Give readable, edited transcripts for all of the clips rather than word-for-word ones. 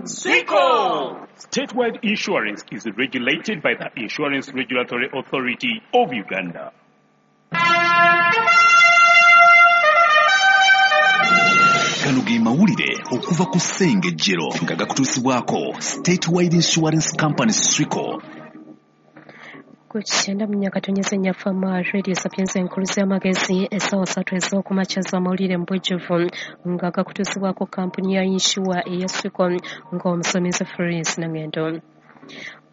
Swico! Statewide Insurance is regulated by the Insurance Regulatory Authority of Uganda. Gano ge mawulire okuva ku Ssengejjero nga gakutuusibwako Statewide Insurance Company Swico. Ku 94.4 Fama Radio Sapienza enkulu z'amagezi, essaawa 3 ez'okumakya z'amawulire mu bujjuvu nga gakutuusibwako kampuni ya insure eya Swico ng'omusomesa Florence Nangendo.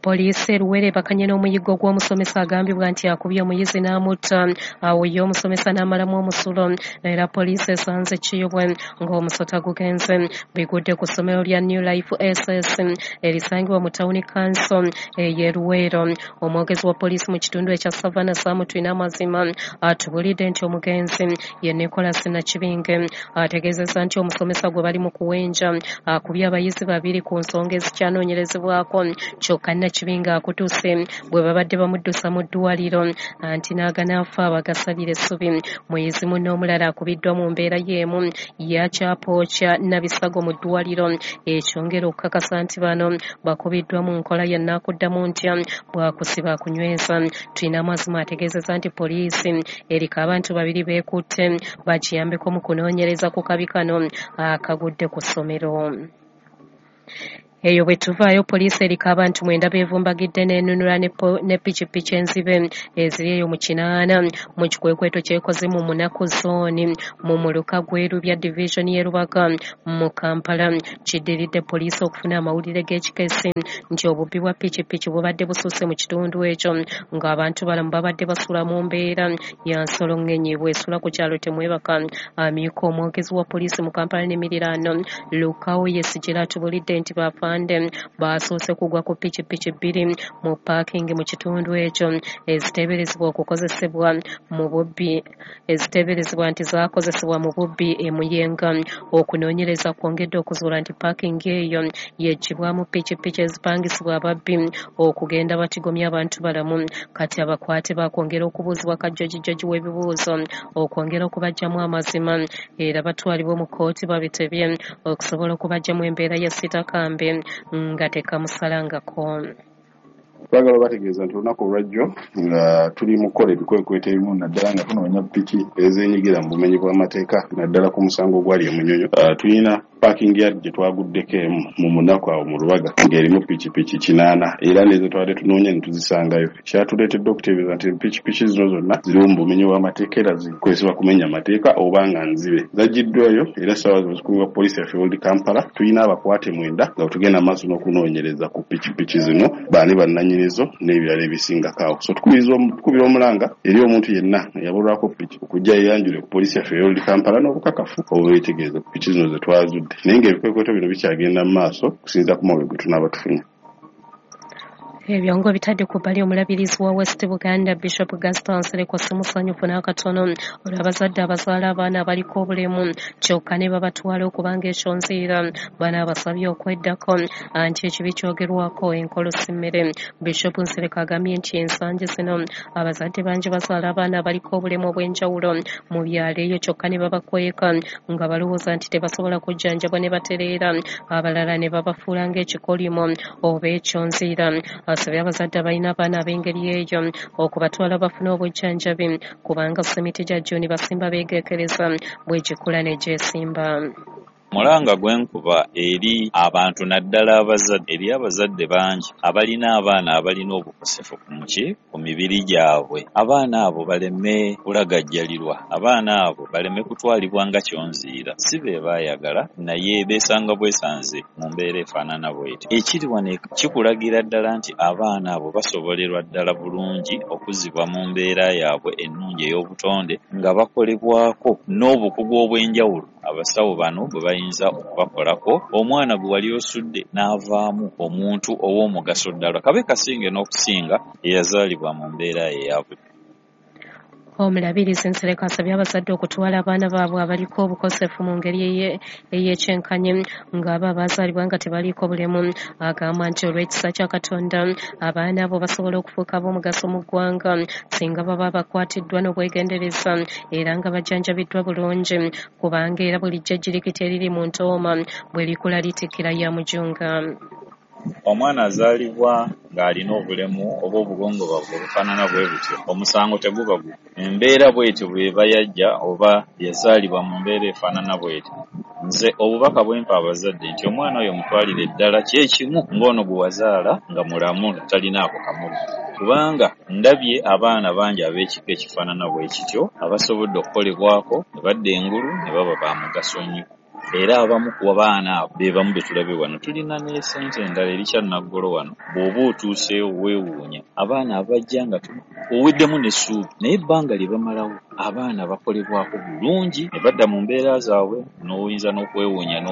Poliisi e Luweero ebakanye n'omuyiggo gw'omusomesa agambibwa nti akubye omuyizi n'amutta, awo ye omusomesa n'amalamu omusulo. Era poliisi esanze Kiyobwe ng'omusota gugenze. Bigudde ku ssomero lya New Life SS erisangibwa mu Town Council ey'e Luweero. Omwogezi wa poliisi mu kitundu ekya Savannah Sam Twineamazima atubulidde nti omugenzi ye Nicholas Nakibinge. Ategeezezza nti omusomesa gwe bali mu kuwenja akubye abayizi babiri ku nsonga ezikyanoonyerezebwako, kyokka Nakibinge akutuse bwe babadde bamuddusa mu ddwaliro anti n'aganaafa bagasabira essubi. Muyizi munne omulala akubiddwa mu mbeera y'emu yakyapooca Nabisago mu ddwaliro, ekyongera okukakasa nti bano bakubiddwa mu nkola ya nnaakuddamu ntya bwakusiba kunyweza. Twineamazima ategeezezza nti poliisi eriko abantu babiri beekutte bakiyambeko mu kunoonyereza ku kabi kano akagudde ku ssomero. Eyo bwe tuvaayo, poliisi eriko abantu 9 beevumbagidde n'enunula ne pikipiki enzibe eziri eyo mu 8 mu kikwekweto kyekoze mu Munaku zooni mu muluka gw'Erubya division y'e Rubaga mu Kampala. Kiddiridde poliisi okufuna amawulire g'ekikesi nti obubbi bwa pikipiki bubadde bususse mu kitundu ekyo, ng'abantu balamu babadde basula mu mbeera ya nsolo ng'enyi bw'esula ku kyalo temwebaka. Amyuka omwogezi wa poliisi mu Kampala n'emiriraano Lukawo Yesigire atubulidde nti bafa basoose kugwa ku pikipiki 2 mu paakingi mu kitundu ekyo eziteeberezebwa okukozesebwa mu bubbi, eziteeberezebwa nti zaakozesebwa mu bubbi e Muyenga. Okunoonyereza kwongedde okuzuula nti paakingi eyo yeggyibwamu pikipiki ezipangisibwa ababbi okugenda batigomya abantu balamu. Kati abakwate bakwongera okubuuzibwa kajjojijoji w'ebibuuzo okwongera okubaggyamu amazima, era batwalibwe mu kkooti babitebye okusobola okubaggyamu embeera ya sitakambe nga tekamusalangako. Twagala bategeeza nti olunaku olwajjo nga tuli mu kukola ebikwekweto ebimu, naddala nga tunoonya piki ezeenyigira mu bumenyi bw'amateeka, naddala ku musango ogwali e Munyonyo. Tulina parking yard gye twaguddeko emu mu Munaku awo mu Rubaga ng'erimu pikipiki 8, era n'ezo twabadde tunoonya ne tuzisangayo. Kyatuleetedde okuteebereza nti pikipiki zino zonna ziriwo mu bumenyi bw'amateeka era zikozesebwa kumenya amateeka oba nga nzibe. Zaggiddwayo era essaawa zino zikuumibwa poliisi yaffe Old Kampala. Tulina abakwate 9 nga tugenda maaso n'okunoonyereza ku pikipiki zino, baani bannannyinizo n'ebirala ebisingako awo. So tukubira omulanga eri omuntu yenna eyabulwako piki okujja yeeyanjule ku poliisi yaffe Old Kampala n'obukakafu obubeetegereza ku piki zino ze twazudde. Naye ng'ebikwekweto bino bikyagenda mu maaso okusinziira ku mawulire ge tunaaba tufunye. Ebyongo bitadde ku bbali omulabirizi wa West Buganda Bishop Gaston Nsereko si musanyufu n'akatono olw'abazadde abazaala abaana abaliko obulemu kyokka ne babatwala okubanga ekyonziira. Bano abasabye okweddako anti ekibi kyogerwako enkolo si mmere. Bishop Nsereko agambye nti ensangi zino abazadde bangi bazaala abaana abaliko obulemu obw'enjawulo mu byalo eyo kyokka ne babakweka nga balowooza nti tebasobola kujjanjabwa ne batereera, abalala ne babafuula ng'ekikolimo oba ekyonziira. Asabye abazadde abalina abaana ab'engeri eyo okubatwala bafune obujjanjabi kubanga ssemiti gya Juni basimba beegeekereza bw'egikula ne gyesimba. Mulanga gwe nkuba eri abantu naddala abazadde, eri abazadde bangi abalina abaana abalina obukosefu ku mibiri gyabwe. Abaana abo baleme kulagajjalirwa, abaana abo baleme kutwalibwa nga kyonziira. Si be baayagala naye beesanga bwesanze mu mbeera efaanana bw'etyo. Ekiri wano kikulagira ddala nti abaana abo basobolerwa ddala bulungi okuzzibwa mu mbeera yaabwe ennungi ey'obutonde nga bakolebwako n'obukugu obw'enjawulo abasawo bano bwe bayinza okubakolako. Omwana gwe wali osudde n'avaamu omuntu ow'omugaso ddala, kabe kasinge n'okusinga eyazaalibwa mu mbeera eya buli. Omulabirizi Nsereko asabye abazadde okutwala abaana baabwe abaliko obukosefu mu ngeri ey'ekyenkanyi ng'abo abazaalibwa nga tebaliiko bulemu. Agamba nti olw'ekisa kya Katonda abaana abo basobola okufuuka ab'omugaso mu ggwanga singa baba bakwatiddwa n'obwegendereza era nga bajjanjabiddwa bulungi, kubanga era bulijjo ejjirikiti eriri mu ntooma bwe likula litikkira ya mujunga. Omwana azaalibwa ng'alina obulemu oba obugongobavu obufaanana bwe butyo, omusango teguba gwo. Embeera bw'etyo bw'eba yajja oba yazaalibwa mu mbeera efaanana bw'etyo. Nze obubaka bwe mpa abazadde nti omwana oyo mutwalire ddala kye kimu ng'ono gwe wazaala nga mulamu talinaako kamogo. Kubanga ndabye abaana bangi ab'ekika ekifaanana bwe kityo abasobodde okukolebwako ne badda engulu ne baba ba mugaso nnyo. Era abamu ku baana abo be bamu be tulabye wano. Tulina ne ssente endala eri Kyannaggolo wano, bw'oba otuuseewo weewuunya abaana abajja nga oweddemu n'essuubi, naye ebbanga lye bamalawo abaana bakolebwako bulungi ne badda mu mbeera zaabwe, n'oyinza n'okwewuunya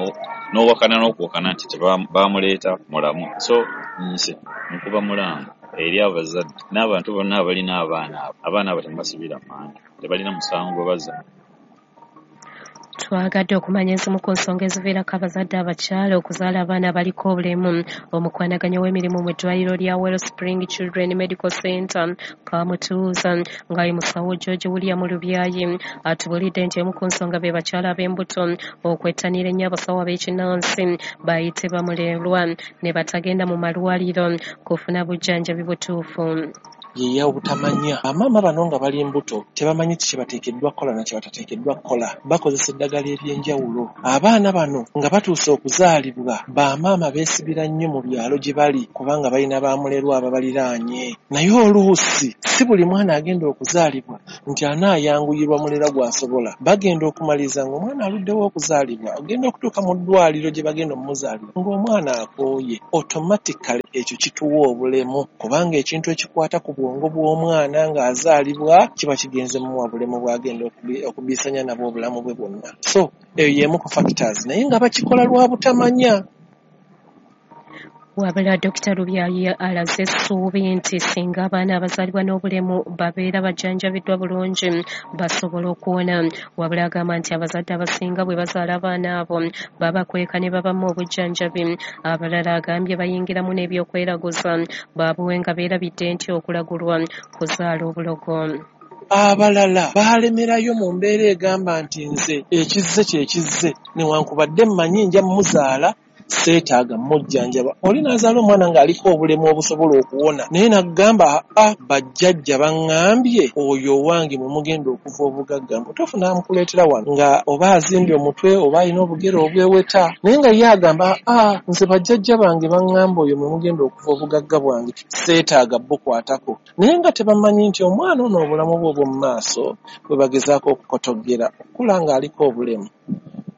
n'owakana n'okuwakana nti baamuleeta mulamu. So nze nkuba mulanga eri abazadde n'abantu bonna abalina abaana abo, abaana abo temubasibira mmanju, tebalina musango gwe bazza. Twagadde okumanya ezimu ku nsonga eziviirako abazadde abakyala okuzaala abaana abaliko obulemu. Omukwanaganya w'emirimu mu ddwaliro lya Wellspring Children Medical Center Kamutuuza nga ye musawo George William Lubyayi atubuulidde nti emu ku nsonga be bakyala ab'embuto okwettanira ennyo abasawo ab'ekinnansi bayite bamulerwa ne batagenda mu malwaliro kufuna bujjanjabi butuufu. Ye obutamanya. Bamaama bano nga bali mbuto tebamanyi kye bateekeddwa kukola na kye batateekeddwa kukola, bakozesa eddagala ery'enjawulo. Abaana bano nga batuuse okuzaalibwa, bamaama beesibira nnyo mu byalo gye bali kubanga balina bamulerwa ababaliraanye. Naye oluusi si buli mwana agenda okuzaalibwa nti anaayanguyirwa mulerwa gw'asobola. Bagenda okumaliriza ng'omwana aluddewo okuzaalibwa, ogenda okutuuka mu ddwaliro gye bagenda omuzaalira ng'omwana akooye. Automatically ekyo kituwa obulemu, kubanga ekintu ekikwata ku bwongo bw'omwana ng'azaalibwa kiba kigenze muwa bulemu bw'agenda okubisanya nabwo obulamu bwe bwonna. So eyo y'emu ku factors, naye nga bakikola lwa butamanya. Wabula Dr. Lubyayi alaze essuubi nti singa abaana abazaalibwa n'obulemu babeera bajjanjabiddwa bulungi basobola okuwona. Wabula agamba nti abazadde abasinga bwe bazaala abaana abo babakweka ne babamu obujjanjabi. Abalala agambye bayingiramu n'ebyokweraguza baabuwe nga beerabidde nti okulagulwa kuzaala obulogo. Abalala baalemerayo mu mbeera egamba nti nze ekizze kye kizze, newankubadde mmanyi nja mmuzaala seetaaga mmujjanjaba. Oli n'azaala omwana ng'aliko obulemu obusobola okuwona, naye n'agamba a bajjajja baŋŋambye oyo owange mwe mugenda okuva obugagga. Mutuufu n'amukuleetera wano nga oba azimbye omutwe oba alina obugere obweweta, naye nga ye agamba a nze bajjajja bange baŋŋamba oyo mwe mugenda okuva obugagga bwange, seetaaga bukwatako. Naye nga tebamanyi nti omwana ono obulamu bwe obw'omu maaso bwe bagezaako okukotogera okukula ng'aliko obulemu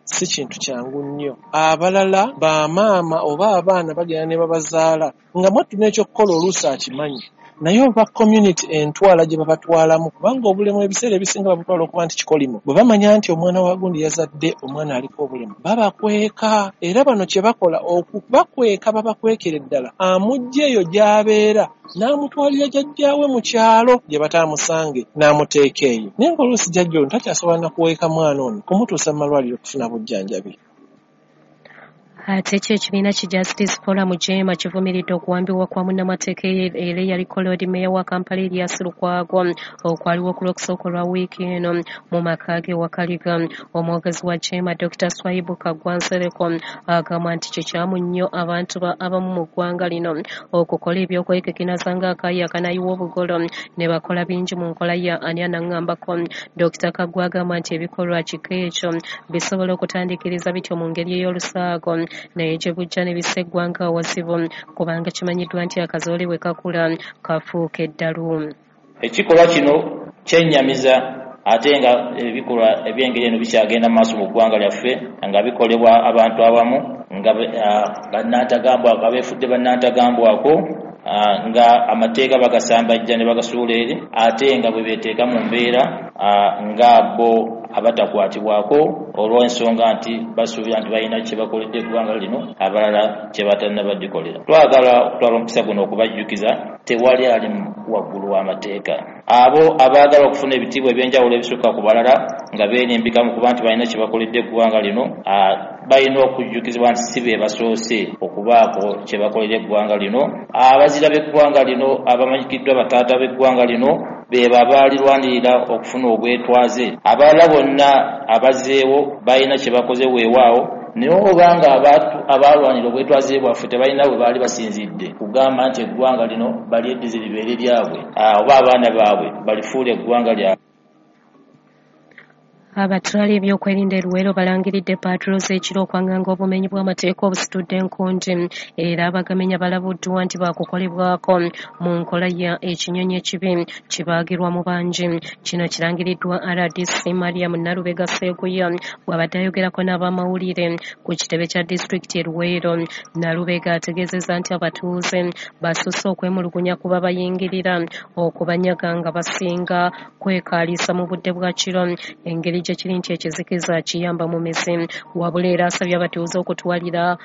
si kintu kyangu nnyo. Abalala bamaama oba abaana bagenda ne babazaala nga mwattu n'ekyokukola oluusi akimanyi, naye oba community entwala gye babatwalamu, kubanga obulemu ebiseera ebisinga babutwala okuba nti kikolimo. Bwe bamanya nti omwana wa gundi yazadde omwana aliko obulemu, babakweka. Era bano kye bakola okubakweka, babakwekera eddala, amuggya eyo gy'abeera n'amutwalira jjajjaawe mu kyalo gye bataamusange n'amuteeka eyo. Naye ng'oluusi jjajja ono takyasobola na kuweeka mwana ono kumutuusa mu malwaliro okufuna bujjanjabi. Ate kyo ekibiina ki Justice Forum JEEMA kivumiridde okuwambibwa kwa munnamateeka era eyaliko Lord Mayor wa Kampala Erias Lukwago okwaliwo ku Lwokusooka olwa wiiki eno mu maka ge Wakaliga. Omwogezi wa JEEMA Dr. Swaibu Kaggwa Nsereko agamba nti kikyamu nnyo abantu abamu mu ggwanga lino okukola ebyokwekekinaza ng'akaayi akanayiwa obugolo ne bakola bingi mu nkola ya ani anaŋŋambako. Dr. Kaggwa agamba nti ebikolwa kika ekyo bisobola okutandikiriza bityo mu ngeri ey'olusaago, naye gye bujja ne bissa eggwanga awazibu kubanga kimanyiddwa nti akazoole bwe kakula kafuuka eddalu. Ekikolwa kino kyennyamiza, ate nga ebikolwa eby'engeri eno bikyagenda mu maaso mu ggwanga lyaffe nga bikolebwa abantu abamu nga bannantagambwako, abeefudde bannantagambwako, nga amateeka bagasambajja ne bagasuula eri, ate nga bwe beeteeka mu mbeera nga bo abatakwatibwako olw'ensonga nti basuubira nti balina kye bakoledde eggwanga lino, abalala kye batannabadikolera. Twagala okutwala omukisa guno okubajjukiza tewali ali waggulu w'amateeka. Abo abaagala okufuna ebitiibwa ebyenjawulo ebisukka ku balala nga beerimbika mu kuba nti balina kye bakoledde eggwanga lino, balina okujjukizibwa nti si be basoose okubaako kye bakolera eggwanga lino. Abazira b'eggwanga lino abamanyikiddwa bataata b'eggwanga lino be babaalirwanirira okufuna obwetwaze. Abalala bonna abazeewo balina kye bakoze weewaawo, naye obanga abaalwanira obwetwaze bwaffe tebalina bwe baali basinzidde kugamba nti eggwanga lino balyeddize libeere lyabwe, oba abaana baabwe balifuula eggwanga lyabwe. Abatwala ebyokwerinda e Luweero balangiridde paatulo z'ekiro okwanganga obumenyi bw'amateeka obusitudde enkundi, era abagamenya balabuddwa nti baakukolebwako mu nkola ya ekinyonyi ekibi kibaagirwa mu bangi. Kino kirangiriddwa RDC Mariam Nalubega Sseguya bw'abadde ayogerako n'abamawulire ku kitebe kya disitulikiti e Luweero. Nalubega ategeezezza nti abatuuze basusse okwemulugunya ku babayingirira okubanyaga nga basinga kwekaaliisa mu budde bwa kiro, engeri gye kiri nti ekizikiza kiyamba mu mizi. Wabula era asabye abatuuze okutwalira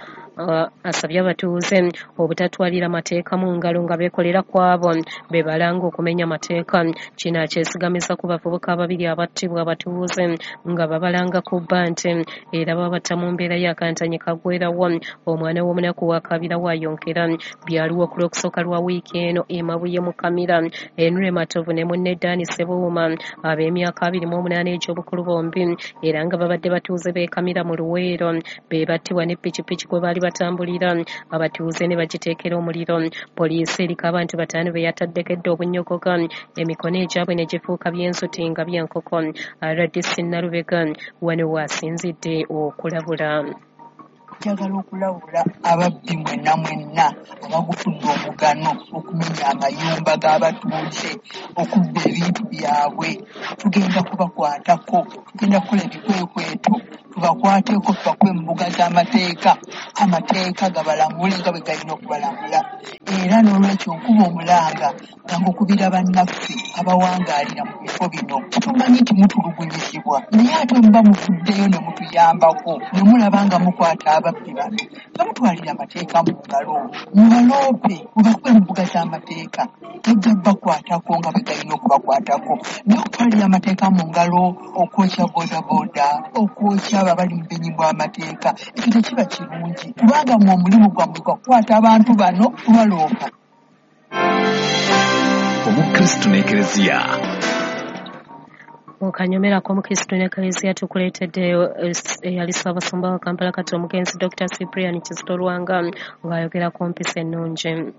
asabye abatuuze obutatwalira mateeka mu ngalo nga beekolera ku abo be balanga okumenya amateeka. Kino akyesigamiza ku bavubuka ababiri abattibwa abatuuze nga babalanga kubba nte, era babatta mu mbeera y'akantanyi kaggwerawo. Omwana w'omunaku wa Kabira wayonkera byaliwo ku lwokusooka lwa wiiki eno e Mabuye mu Kamira. Henry Matovu ne munne Dan Ssebuuma ab'emyaka 28 egy'obukulu bombi era nga babadde batuuze b'e Kamira mu Luweero be battibwa ne pikipiki kwe baali batambulira, abatuuze ne bagiteekera omuliro. Poliisi eriko abantu 5 be yataddekedde obunnyogoga, emikono egyabwe ne gifuuka by'ensuti nga by'enkoko. RDC Nalubega wano waasinzidde okulabula. Njagala okulabula ababbi mwenna mwenna abagufudde omugano okumenya amayumba g'abatuuze, okubba ebintu byabwe. Tugenda kubakwatako, tugenda kukola ebikwekweto tubakwateko, tubakuwe mu mbuga z'amateeka, amateeka gabalamule nga bwe galina okubalamula. Era n'olwekyo nkuba omulanga nga ngukubira bannaffe abawangaalira mu bifo bino. Tumanyi nti mutulugunyizibwa, naye ate muba muvuddeyo ne mutuyambako ne mulaba nga mukwata ababbi bano, temutwalira amateeka mu ngalo, mubaloope, mubakuwe mu mbuga z'amateeka, gajja bakwatako nga bwe galina okubakwatako. Naye okutwalira amateeka mu ngalo, okwokya boodabooda, okwokya abo abali mu bumenyi bw'amateeka, ekyo tekiba kirungi, kubanga mwe omulimu gwammwe gwa kukwata abantu bano kubaloopa. Omukristu n'Ekereziya. Okanyomera k'Omukristu n'Ekereziya tukuleetedde eyali Ssaabasumba wa Kampala kati omugenzi Dr. Cyprian Kizito Lwanga ng'ayogera ku mpisa ennungi.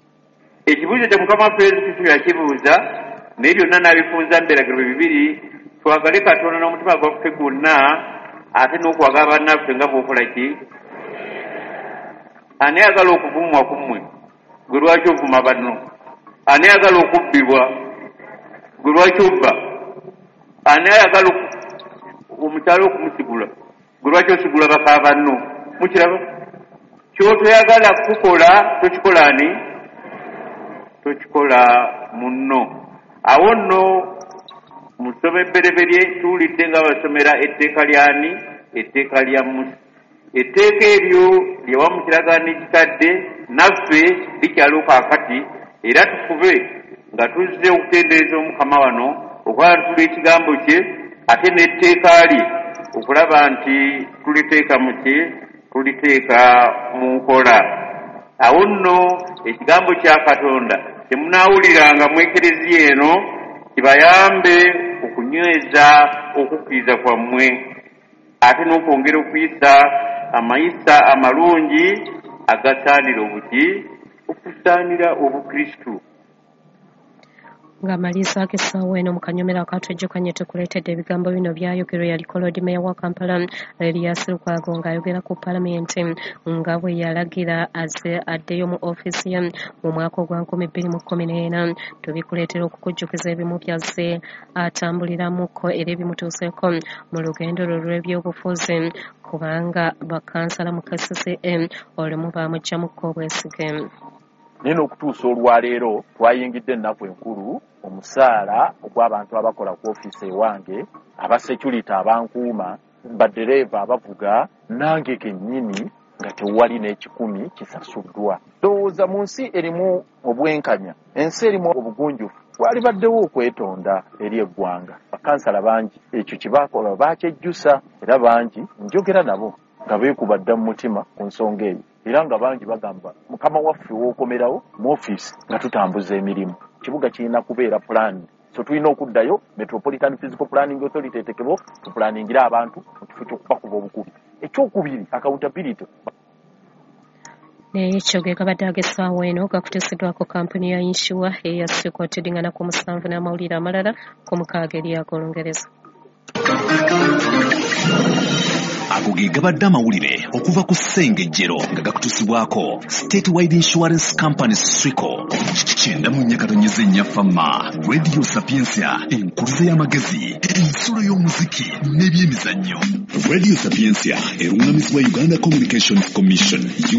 Ekibuuzo kya Mukama waffe Yesu Kristo yakibuuza, naye byonna n'abifunza mu biragiro bibiri: twagale Katonda n'omutima gwaffe gwonna, ate n'okwagala bannaffe nga bw'okola ki. Ani ayagala okuvumwa ku mmwe? Gwe lwaki ovuma banno? Ani ayagala okubbibwa? Gwe lwaki obba? Ani ayagala omukyala okumusigula? Gwe lwaki osigula baka banno? Mukiraba? Ky'otoyagala kukola tokikola ani? Tokikola munno. Awo nno mu ssomo ebbereberye tuwulidde nga basomera etteeka ly'ani? Etteeka lya Musa. Etteeka eryo lye wamu kiragaano ekikadde naffe likyaliwo kaakati, era tufube nga tuzze okutendereza Omukama wano, okwantula ekigambo kye ate n'etteeka lye okulaba nti tuliteeka mu ki? Tuliteeka mu nkola. Awo nno ekigambo kya Katonda temunaawuliranga mu Ekereziya eno kibayambe okunyweza okukkiriza kwammwe, ate n'okwongera okuyisa amayisa amalungi agasaanira obuki? Okusaanira Obukristu. Ng'amalizaako essaawa eno mu kanyomero akatwejjukanye tukuleetedde ebigambo bino byayogerwa yaliko Lord Mayor wa Kampala Erias Lukwago ng'ayogera ku Paalamenti nga bwe yalagira azze addeyo mu ofiisi ye mu mwaka ogwa 2014. Tubikuleetera okukujjukiza ebimu by'azze atambuliramuko era ebimutuuseeko mu lugendo lwe lw'ebyobufuzi, kubanga bakansala mu KCCA olumu baamuggyamuko obwesige. Naye n'okutuusa olwaleero twayingidde ennaku enkulu, omusaala ogw'abantu abakola ku ofiisi ewange Aba security abankuuma, badereeva abavuga, nange kennyini nga tewali n'ekikumi kisasuddwa. Ndowooza mu nsi erimu obwenkanya, ensi erimu obugunjufu, walibaddewo okwetonda eri eggwanga. Bakansala bangi ekyo kye baakola baakyejjusa, era bangi njogera nabo nga beekuba dda mu mutima ku nsonga eyo, era nga bangi bagamba mukama waffe w'okomerawo mu ofiisi nga tutambuza emirimu. Kibuga kirina kubeera pulaani, so tulina okuddayo Metropolitan Physical Planning Authority etekebwo tupulaningire abantu mu kifo ky'okubakuba obukubi. Ekyokubiri, accountability. Ekyo ge gabadde ag'essaawa eno gakutuusiddwako kampuni ya Insure eya Swico. Tudingana ku 7 n'amawulire amalala ku 6 eri ag'Olungereza. Ago ge gabadde amawulire okuva ku Ssengejjero nga gakutuusibwako Statewide Insurance Company Swico. 94.4 Fama Radio Sapientia, enkuluze y'amagezi, ensulo y'omuziki n'ebyemizannyo. Radio Sapientia eruŋŋamizibwa Uganda Communications Commission.